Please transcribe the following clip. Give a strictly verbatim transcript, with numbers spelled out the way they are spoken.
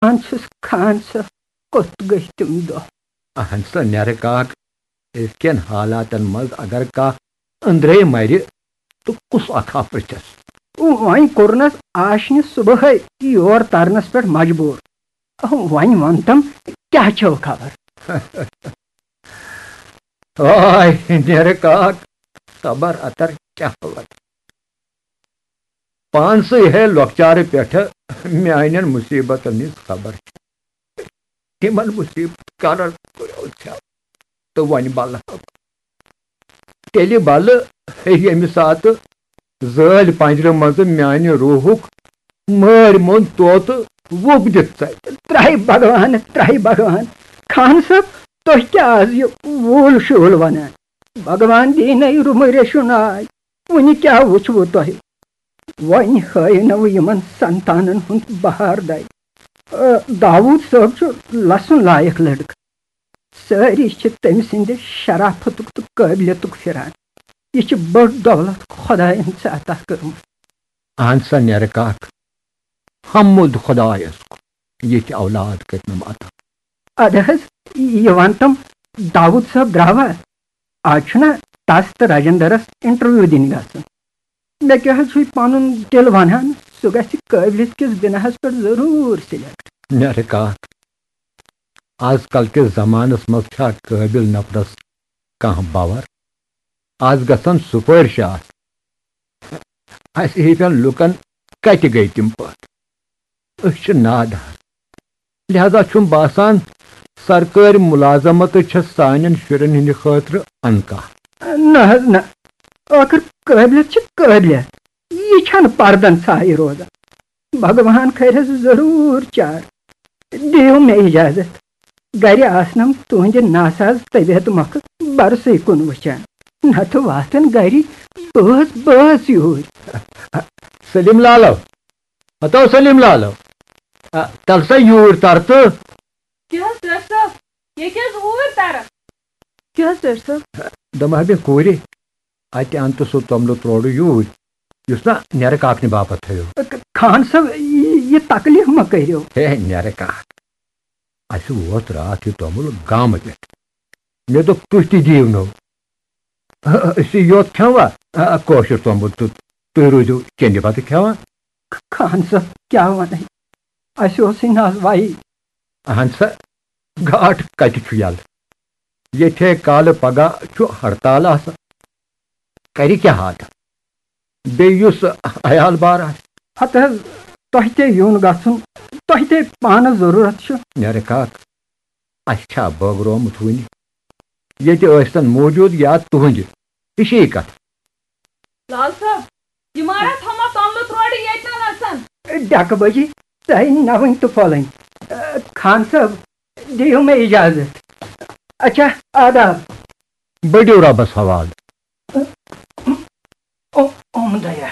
دپان چھُس، خان صٲب، کوٚت گٔے تِم دۄہ؟ اہن سا نٮ۪رٕ کاک، أزکٮ۪ن حالاتن منٛز اگر کانٛہہ أنٛدرے مرِ، تہٕ کُس اکھ ہا پرٛژھٮ۪س؟ وۄنۍ کوٚرنس آشنہِ صبحٲے یور ترنس پٮ۪ٹھ مجبوٗر۔ وۄنۍ وَن تم، کیٛاہ چھو خبر؟ آے نٮ۪رٕ کاک، صبر اتر کیٛاہ وَنہٕ؟ پانسٕے ہے لۄکچارٕ پٮ۪ٹھٕ میانٮ۪ن مُصیبتن ہٕنٛز خبر چھِ۔ تِمن مُصیبت کرن کُریو ژھٮ۪و تہٕ وۄنۍ بلہٕ ہا بہٕ۔ تیٚلہِ بلہٕ ییٚمہِ ساتہٕ زٲلۍ پنجرٕ منٛزٕ میانہِ روحُک مٲرۍ موٚنٛد طوطہٕ وُپھ دِتھ ژلہِ۔ ترٛاے بھگوان، ترٛاے بھگوان۔ خان صٲب، تۄہہِ کیٛاہ از یہِ وول شول ونان؟ بھگوان دِینَے رُمہٕ ریشُن آے۔ وُنہِ کیٛاہ وُچھوٕ تۄہہِ؟ وۄنۍ ہٲینو یِمن سنتانن ہُنٛد بہار دَے۔ آ، داوود صٲب چھُ لسُن لایق لڑکہٕ۔ سٲری چھِ تٔمۍ سٕنٛدِ شرافتُک تہٕ قٲبلیتُک پھِران۔ یہِ چھِ بٔڑ دولت خۄدایَن ژےٚ عطا کٔرمٕژ۔ اہن سا نٮ۪رٕ کاک، حمد خۄدایَس کُن، یِتھۍ اولاد کٔرۍ مےٚ عطا۔ اَدٕ حظ، یہِ وَن تَم، داوود صٲب درٛاوا؟ آز چھُنہ تَس تہٕ راجندرَس انٹرویو دِنہِ گژھُن۔ مےٚ کیٛاہ حظ چھُے پَنُن دِل وَنان، سُہ گژھِ قٲبلیت کِس بِناہَس پٮ۪ٹھ ضروٗر سِلیکٹ۔ نٮ۪رٕ کاک، آز کل کِس زمانس منٛز چھا قٲبل نفرس کانٛہہ باور؟ آز گژھن سُپٲرۍ شاہ۔ اسہِ ہِوٮ۪ن لُکن کتہِ گٔے تِم پٲٹھۍ؟ أسۍ چھِ نادار، لہذا چھُم باسان، سرکٲرۍ مُلازمتٕے چھےٚ سانٮ۪ن شُرٮ۪ن ہٕنٛدِ خٲطرٕ انکاہ۔ نہ حظ نہ، ٲخٕر قٲبلیت چھِ قٲبلیت، یہِ چھنہٕ پردن ژھایہِ روزان۔ بھگوان کھرٮ۪س ضروٗر چار۔ دِیِو مےٚ اجازت۔ گرِ آسنم تُہنٛدِ ناساز طبیعت مۄکھٕ برسٕے کُن وٕچھان۔ نتہٕ واتن گرِ بٲژ بٲژ یوٗرۍ۔ سلیم لالو، ہتو سلیم لالو، آ، تل سا یوٗرۍ تر تہٕ۔ کیٛاہ حظ ڈاکٹر صٲب؟ ییٚتہِ حظ اوٗرۍ تران۔ کیٛاہ حظ ڈاکٹر صٲب؟ دوٚپمَے بے کوٗرِ، اَتہِ اَن تہٕ سُہ توٚملہٕ تروڑٕ یوٗرۍ، یُس نا نٮ۪رٕ کاکنہِ باپتھ تھٲیِو۔ خان صٲب، یہِ، یہِ تکلیف مہ کٔرِو۔ ہے نٮ۪رٕ کاک، اَسہِ ووت راتھ یہِ توٚمُل گامہٕ پٮ۪ٹھ۔ مےٚ دوٚپ، تُہۍ تہِ دِیِو نو۔ أسۍ چھِ یوت کھٮ۪وان، آ، کٲشُر توٚمُل تہٕ تُہۍ روٗزِو کیٚنٛدِ بتہٕ کھٮ۪وان۔ خان صٲب، کیٛاہ وَنَے؟ اَسہِ اوسُے نہٕ آز وَیی۔ اہن سا، گاٹھ کتہِ چھُ یلہٕ؟ ییٚتھے کالہٕ پگاہ چھُ ہڑتال آسان۔ کرِ کیٛاہ آدٕ؟ بیٚیہِ یُس عیال بار آسہِ۔ ہتہٕ حظ، تۄہہِ تے یُن گژھُن، تۄہہِ تے پانس ضروٗرت چھُ۔ نٮ۪رٕ کاک، اَسہِ چھا بٲگرومُت وُنہِ؟ ییٚتہِ ٲسۍتن موجود یا تُہنٛدِ، ہِشی کتھ۔ لال صٲب، یہِ مارا تھوٚمت توٚملہٕ تروڑٕ ییٚتہِ نَسَن۔ ڈکہٕ بجی، ژےٚ نہ وٕنۍ تہٕ پھۄلٕنۍ۔ خان صٲب، دِیِو مےٚ اجازت۔ اچھا، آداب۔ بٔڑِو رۄبس حوالہٕ۔ او، اوم دیا۔